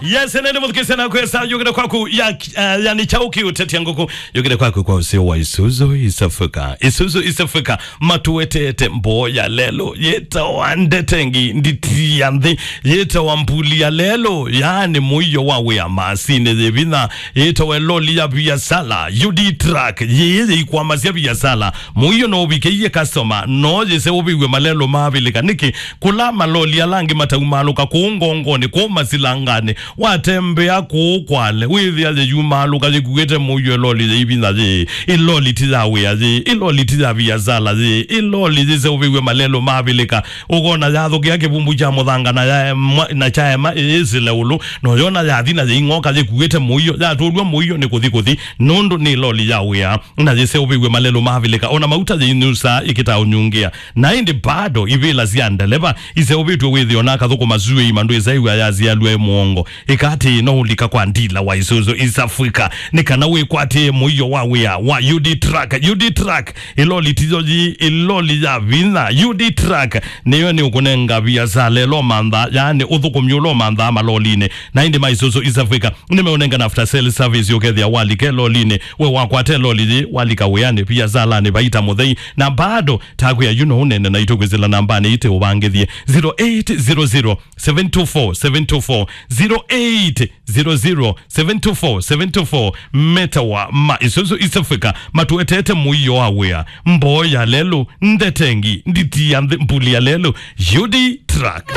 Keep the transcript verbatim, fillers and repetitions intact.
Yes, nene mũthukĩĩsya na kwesa yũkĩte kwaku ya, eh, yani kyaũ kĩũtetia ngũkũ yũkĩte kwaku kwa ũseo wa Isuzu East Africa. Isuzu East Africa matuetete mboo ya lelũ yĩtawa ndetengi nditi ya nthĩ, yĩtawa mbuli ya lelũ, yani mũio wa wĩa, masini yĩ vinya, yĩtawa loli ya viasala, U D truck, yĩĩ yĩikwamasya viasala. Mũio no ũvikĩie customer, no yĩseũvĩw'e malelũ maavĩlĩka. Nĩkĩ? Kũla maloli ala angĩ mataumalũka kũu ngongonĩ, kũu masilanganĩ, watembea kũu kwale, wĩthĩa yĩyumaalũka yĩkuĩte mũio. Ĩloli yĩ vinya yĩĩ, ĩloli ti ya wĩa yĩĩ, ĩloli ti ya viasala yĩĩ, ĩloli yĩseũvĩw'e malelũ maavĩlĩka. Ũkona yathũkĩa kĩvumbu kya mũthanga na yaema, na kyaema ĩyĩsĩle ũlũ, no yona yathi na yĩing'oka yĩkuĩte mũio, yatũlw'a mũio nĩ kũthi kũthi, nũndũ nĩ loli ya wĩa, na yĩseũvĩw'e malelũ maavĩlĩka, ona mauta yĩinyusaa ĩkĩtaa ũnyungĩa. Na ĩndĩ bado ivĩla sya ndeleva iseũvĩtw'e wĩthĩo na akathũkũma zuĩ imandũ ĩsaiw'a yasialw'a ĩ mũongo. Ĩka atĩĩ, no ũlika kwa ndila wa Isuzu East Africa nĩ kana wĩkwatĩe mũio wa wĩa wa U D truck. U D truck, ĩloli tiyo yĩĩ, ĩloli ya vinya. U D truck nĩyo nĩ ũkũnenga viasala ĩla ũmanthaa, yaani ũthũkũmi ũla ũmanthaa malolinĩ. Na ĩndĩ ma Isuzu East Africa nĩmeũnengana after sale service, ũkethĩa walika ĩlolinĩ, we wakwata ĩloli yĩĩ, walika wĩanĩ, viasalanĩ, vaita mũthei, na bado takwĩa yu no ũnene naitũ kwĩsĩla nambanĩ ite ũvangĩthie, zero eight zero zero, seven two four, seven two four, zero eight zero zero, seven two four, seven two four. Metawa ma Isuzu East Africa matuetete mũio wa wĩa, mboo ya lelũ, ndetengi nditi ya nthĩ, mbuli ya lelũ, U D truck.